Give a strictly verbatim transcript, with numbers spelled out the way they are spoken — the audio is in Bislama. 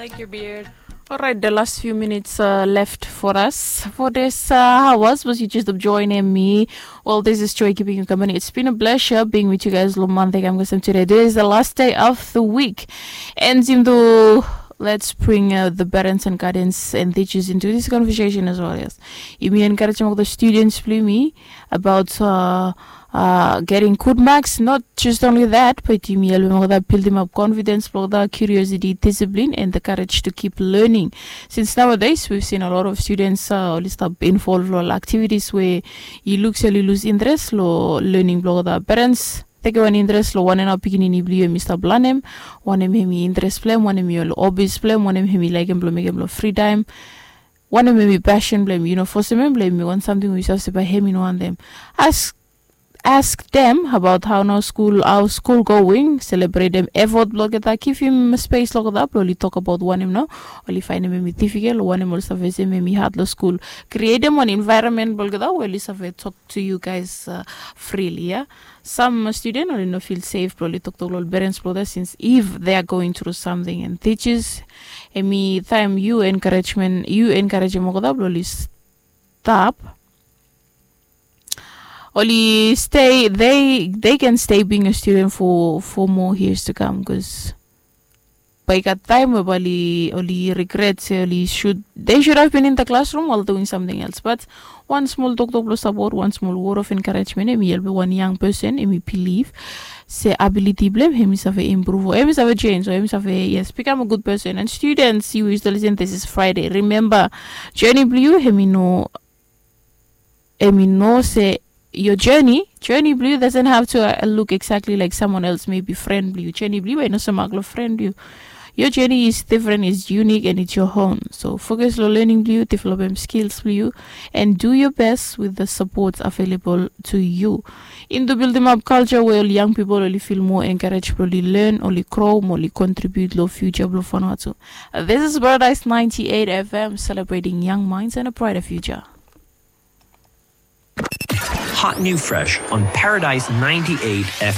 Like your beard. All right, the last few minutes uh, left for us for this uh, hours was you just joining me. Well, this is Joy keeping you company. It's been a pleasure being with you guys lo Monday kam kasem today. Today is the last day of the week. And Zimdo, let's bring uh, the parents and guardians and teachers into this conversation as well. Yes, yumi encourage the students blong yumi about uh, uh, getting good marks. Not just only that, but yumi help them with that build them up confidence, blong that curiosity, discipline, and the courage to keep learning. Since nowadays we've seen a lot of students uh, oli stap involve lo activities where you look sel you lose interest lo learning blong that parents. Teke wan interest lo wanem nao pikinini blong yu em i stap lanem, wanem em i interest blong em, wanem i ol hobbies blong em, wanem em i laekem blong mekem lo free time, wanem em i passion blong em. Yu no fosem em blong em i wan samting we yu save se bae em i no wantem. Ask ask them about how nao school, how school going, celebrate them effort blong olgeta, give him space lo olgeta blong oli tok about wanem nao oli faenem em i difficult o wanem oli save se em i hard lo school. Create them wan environment blong olgeta we oli save tok to you guys uh, freely, yeah. Some student oli no feel safe blong oli toktok lo ol parents blong olgeta since if they are going through something, and teachers, em i taem you encouragement, you encourage em olgeta blong oli stop, oli stay, they they can stay being a student for for more years to come, because bae i gat taem we bae oli oli regret se oli should, they should have been in the classroom while doing something else. But wan smol toktok blong support, wan smol word of encouragement, em i help wan young person em i believe se ability blong em em i save improve o em i save change o em i save, yes, become a good person. And students, you is the listen, this is Friday, remember, journey blong yu em i no em i no se your journey, journey blong yu doesn't have to uh, look exactly like someone else, maybe friend blong yu. Journey blong yu em i no se mak lo friend blong yu. Your journey is different, is unique, and it's your own. So focus lo learning blong yu, develop em skills blong yu, and do your best with the support available to you. In the build them up culture where young people only feel more encouraged, only learn, only grow, only contribute lo future blong Vanuatu. This is Paradise ninety-eight F M, celebrating young minds and a brighter future. Hot new fresh on Paradise ninety-eight F M.